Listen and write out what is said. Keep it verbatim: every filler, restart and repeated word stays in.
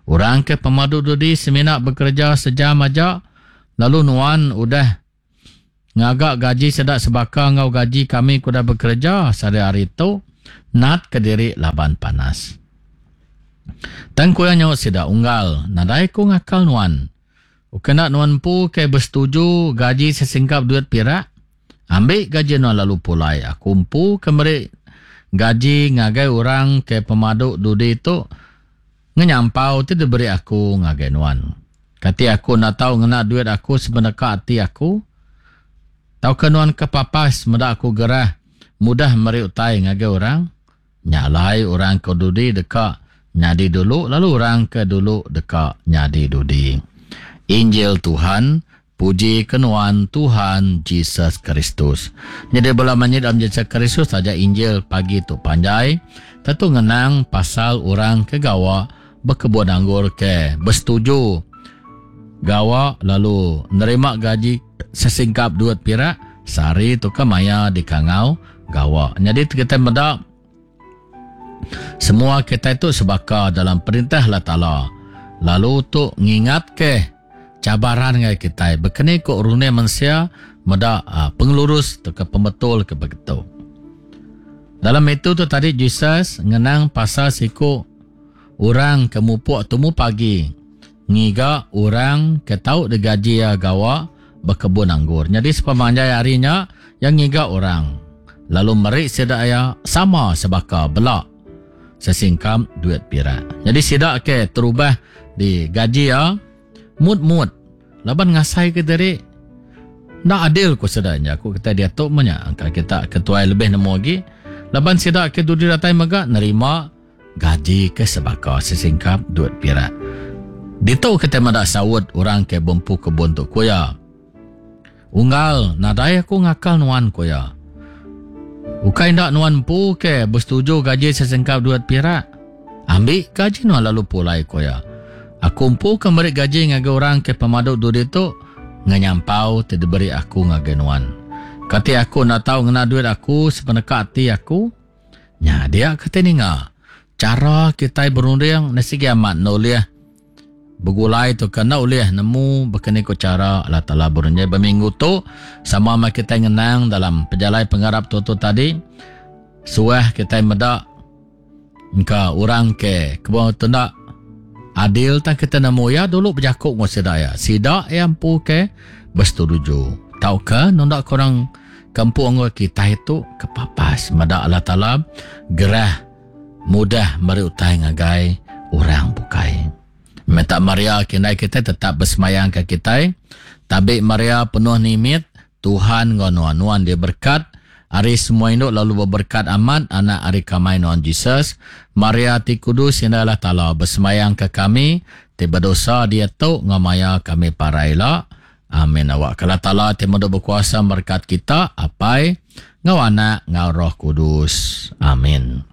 Orang ke pemadu dudi semina bekereja sejam aja, lalu nuan udah ngaga gaji sida sebaka enggau gaji kami ke udah bekereja sehari-hari tu, nat ke diri laban panas. Tang ku iya nyaut sida, Unggal, nadai ku ngakal nuan. Ukai enda nuan empu ke besetuju gaji sesingkap duit pirak? Ambi gaji nuan lalu pulai. Aku empu ke meri gaji ngagai orang ke pemadu dudi tu ngenyampau ti diberi aku ngagai nuan. Kati aku enda tau ngena duit aku sepeneka ati aku? Tauka nuan kepapas meda aku gerah mudah meri utai ngagai orang? Nya alai orang ke dudi deka nyadi dulu lalu orang ke dulu deka nyadi dudi. Injil Tuhan, puji ke nuan Tuhan Jesus Kristus. Nyadi bala menyadi dalam Jesus Kristus taja Injil pagi tu panjai, tentu ngenang pasal orang ke gawa bekebun anggur ke besetuju gawa lalu nerima gaji sesingkap duit pirak sehari tu ke maya dikangau gawa. Nyadi kita meda semua kita itu sebaka dalam perintah Allah Taala. Lalu tu ngingat ke cabaran ngai kita bekeni ko runding mensia meda uh, pengelurus atau ke pembetul ke begitu. Dalam itu tu tadi Jesus ngenang pasal siku orang ke mupuk tumu pagi ngiga orang ke tau digaji ya gawa bekebun anggur. Jadi sepemanjai harinya yang ngiga orang lalu meri sida ya sama sebaka belak sesingkam duit pirak. Jadi sida ke terubah di gaji ya mut-mut laban ngasai ke diri ndak adil ku sedanya ku kita dia tu menya angka kita ketuai lebih nemu lagi laban sida ke dudi datai mega nerima gaji ke sebaka sesingkap duit pirak. Ditu kita meda saut orang ke bempu kebun tu ku ya. Unggal nadai aku ngakal nuan ku ya. Ukai ndak nuan empu ke bersetuju gaji sesingkap duit pirak. Ambil gaji nuan lalu pulai ku ya. Aku empu ke meri gaji ngagai orang ke pemadu dudi tu ngenyampau ti diberi aku ngagai nuan. Kati aku nak tahu ngena duit aku sepeneka ati aku. Nya dia kata ninga. Cara kita berunding nasi amat nolih begulai tu kena ulih nemu bekeni ko cara Allah Taala berunding. Berminggu tu sama ma kita ngenang dalam pejalai pengarap tu tu tadi. Suah kita meda engka orang ke kebun tu adil tak kita nemu ya dulu berjakuk ngau sida ya. Sida yang empu ke bersetuju. Tauka nondak korang kampung ngau kita itu kepapas meda Allah Taala gerah mudah meri utai ngagai orang bukai. Minta Maria kindai kita tetap bersemayang ke kita. Tabi Maria penuh nimit Tuhan ngau nuan nuan dia berkat. Ari semua induk lalu berberkat amat anak ari kamai nuan Jesus. Maria ti kudus indah Allah Taala bersemayang ke kami ti berdosa dia tu ngamaya kami paraila. Amin. Awak Allah Taala ti muda berkuasa berkat kita apai ngau anak ngau Roh Kudus. Amin.